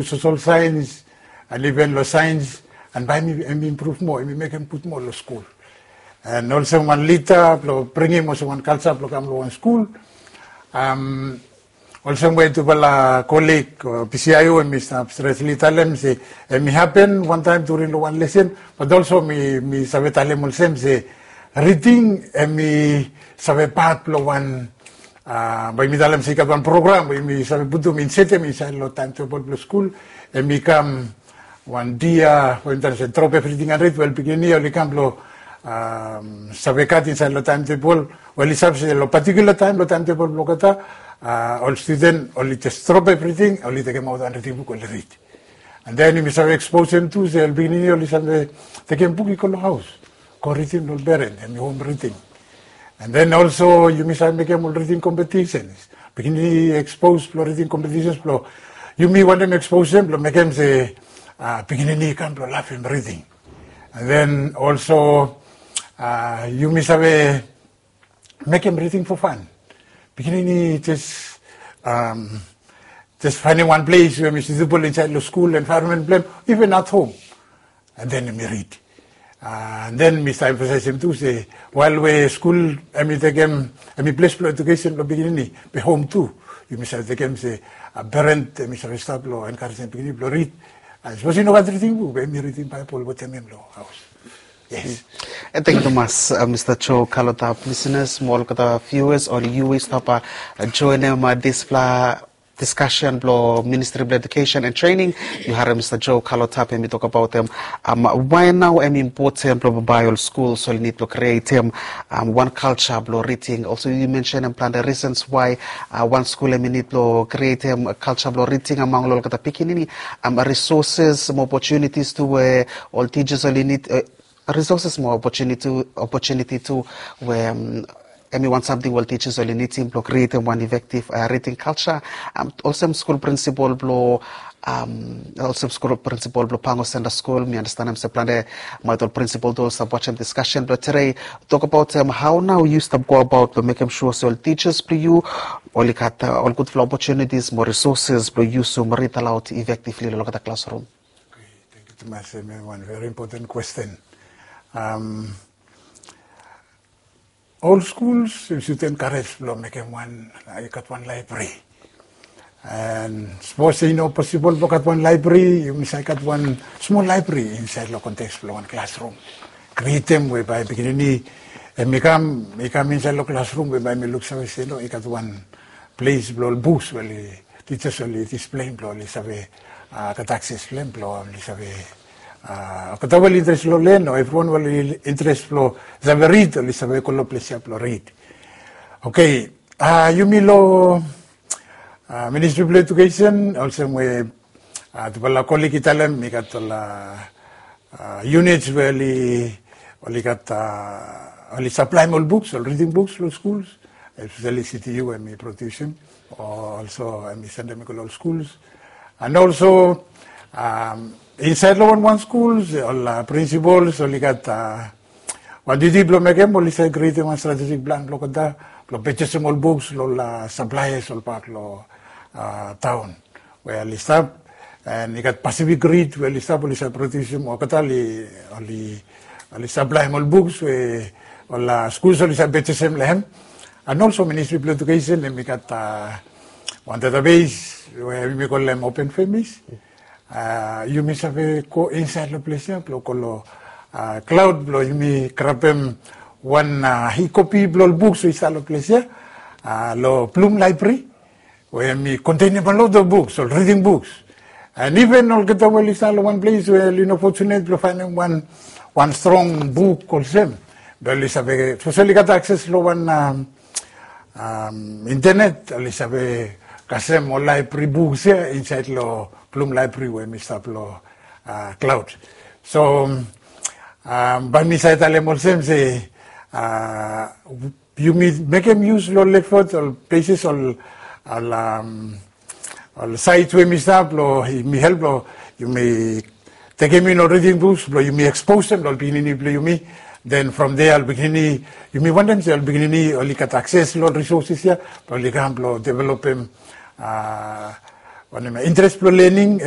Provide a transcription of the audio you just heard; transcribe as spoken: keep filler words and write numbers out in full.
social science, and even long science, and bae hemi improve moa, hemi mekem gud moa long skul. And olsem wan lida blong bringim olsem wan kalsa blong kam long wan skul. Olsem we tufala kolig o PCIO hemi stap stresli talem se hemi hapen wantaem during long wan lesen, bat olsem mi save talem olsem se riding hemi save pat blong wan, bae mi talem se i gat wan program we yumi save putum, insetem insaed long taemtebol blong skul. Hemi kam wan dia we mi talem se drop everything and read, wel, pikinini oli kam blong save gat insaed long taemtebol, wel, oli save se long patikula taem long taemtebol blong olgeta ol studen oli jes drop everything, oli tekemaot wan riding buk, oli rid. And then yumi save eksposem tu se ol pikinini oli save tekem buk i go long haos, go ridim long ol peren, hemi hom riding. And then olso yumi save mekem ol riding kompetisens, pikinini ekspos blong riding kompetisens blong yumi wantem eksposem blong mekem se pikinini i kam blong lavem riding. And then olso yumi save mekem riding fo fan. Pikinini jes jes faenem wan ples we hemi sutebol insaed long skul envaeronmen blong hem, even at hom, and then hemi rid. And then mi save emfasaesem tu se wael we skul hemi tekem, hemi ples blong ejukesen blong pikinini, be hom tu yumi save tekem se peren hemi save stap blong enkarejem pikinini blong rid. Sapos i no gat riding buk, be hemi ridim Baebol wetem hem long haos. Yes. Tangkiu tumas, Mista Joe Kalotap. Lisenas mo olgeta viewers, oli yu we i stap joenem dispela diskasen blong Ministri blong Ejukesen and Trening. Yu harem Mista Joe Kalotap hemi tokbaot hem wae nao hemi impoten blong bambae ol skuls oli nid blong krietem wan kalsa blong riding. Olsem yu mensenem plante risens wae wan skul hemi nid blong krietem kalsa blong riding among long olgeta pikinini, risoses mo opotunitis tu we ol tijas oli nid, risoses mo opotuniti tu we hemi wan samting we ol tijas oli nidim blong krietem wan efektiv riding kalsa. Olsem skul prinsipol blong olsem skul prinsipol blong Pango Center Skul, mi anastenem se plante maet ol prinsipol tu oli stap wajem diskasen blong tede. Tokbaot hao nao yu stap goabaot blong mekem sua se ol tijas blong yu oli gat ol gudfala opotunitis mo risoses blong yusum rid aloud efektivli long olgeta klasrum. Tangkiu tumas, hemi wan veri impoten kwesten. Ol skuls i sud enkarej blong mekem wan, i gat wan laebri. And sapos i no posibol blong gat wan laebri, yumi save gat wan smol laebri insaed long konteks blong wan klasrum. Krietem we bae pikinini hemi kam, i kam insaed long klasrum we bae hemi luksave se no, i gat wan ples blong ol buks we oli tijas oli displeim blong oli save gat akses blong hem blong oli save, olgeta we oli interes long len o evriwan we oli interes blong save rid, oli save go long ples ya blong rid. Oke, yumi long Ministri blong Ejukesen, olsem we tufala kolig i talem, i gat ol units we oli gat, oli saplaem ol buks, ol riding buks long skuls, espeseli CTU hemi produsem, o olso hemi sendem i go long ol skuls. And olso insaed long wanwan skuls ol prinsipols oli gat wan diuti blong mekem, oli save krietem wan stratejik plan blong olgeta blong pejesem ol buks long ol saplaeas olbak long taon we oli stap. And i gat Pacific Read we oli stap, oli save produsem, olgeta oli, oli saplaem ol buks we ol skuls oli save pejesem long hem. And olso Ministri blong Ejukesen hemi gat wan database we yumi kolem Open Famis. Yumi save go insaed long ples ya blong go long klaod blong yumi grabem wan e-kopi blong ol buks we i stap long ples ya long Bloom Library, we hemi kontenem a lot of books, ol reading books. And even olgeta we oli stap long wan ples we oli no fortunate blong faenem wan, wan strong buk olsem, be oli save, sapos oli gat akses long wan internet, oli save kasem ol laebri buks ya insaed long Bloom Library we hemi stap long klaod. So bae mi save talem olsem se yumi mekem yus long ol efot, ol pleses, ol, ol saet we yumi stap long, yumi help long yumi tekem in ol riding buks blong yumi eksposem long ol pikinini blong yumi. Then from there ol pikinini, yumi wantem se ol pikinini oli gat akses long ol risoses ya blong oli kam blong developem Wanem ya, interes blong lening,